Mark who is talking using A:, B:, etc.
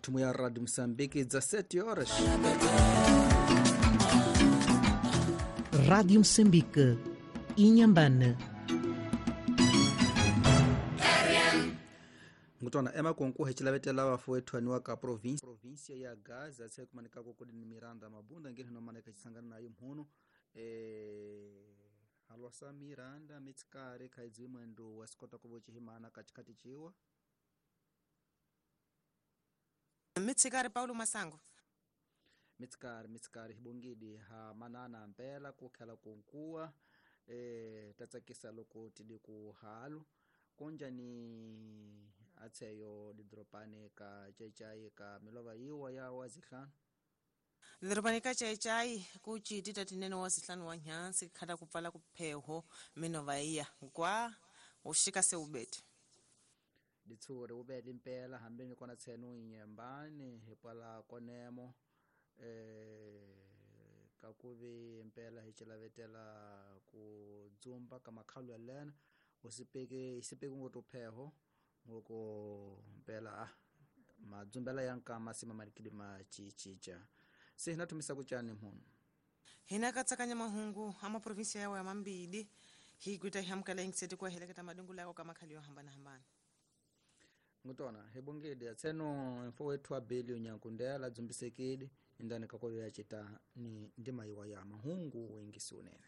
A: Thumo ya Radio Moçambique, 17 horas.
B: Rádio Moçambique, Inhambane.
A: Ngutona emakonku hecilavetela vafuwethuaniwa ka província ya Gaza tse kumanikako kudi ni Miranda Mabunda ngene nomaneka cisangana nayo mhuno halwasa Miranda mitsikari khaidzi mwendo wa sikota kuvochihimana katikati ciwa
C: Mitsikari Paulo Masango.
A: Mitsikari hibongidi ha manana mpela kukhela kunkuwa tatsakisa loko tidi ku halu kunja ni atseyo didropane ka chaichai ka milova yiwa ya wazihlanu.
C: Didropane ka chaichai kuchiti tatinene wazihlanu wa nyansi khata kupfala kupheho minova iya kwa ushika se ubete.
A: Ditsuri ubete impela hambeni kona tsenu inyembani hipala konemo kakuvi impela hichilavetela ku dzumba ka makhalu ya lena usipeke isipeke ngoto pheho ngoko mpela madzumbela ya nkama sima malikidi machichicha se hina thumisa kuchani mhuno
C: hina katsakanya mahungu ama provinsia yawo ya mambidi hikuita hamkala ingiseti kwa heleketa madungu lako kama khali yo hambana hambana.
A: Ngutona hebongedi atseno mfo wethu abeli nyankundela dzumbisekedi indani kakoyo ya chita ni ndima iwa ya mahungu wengi sunene.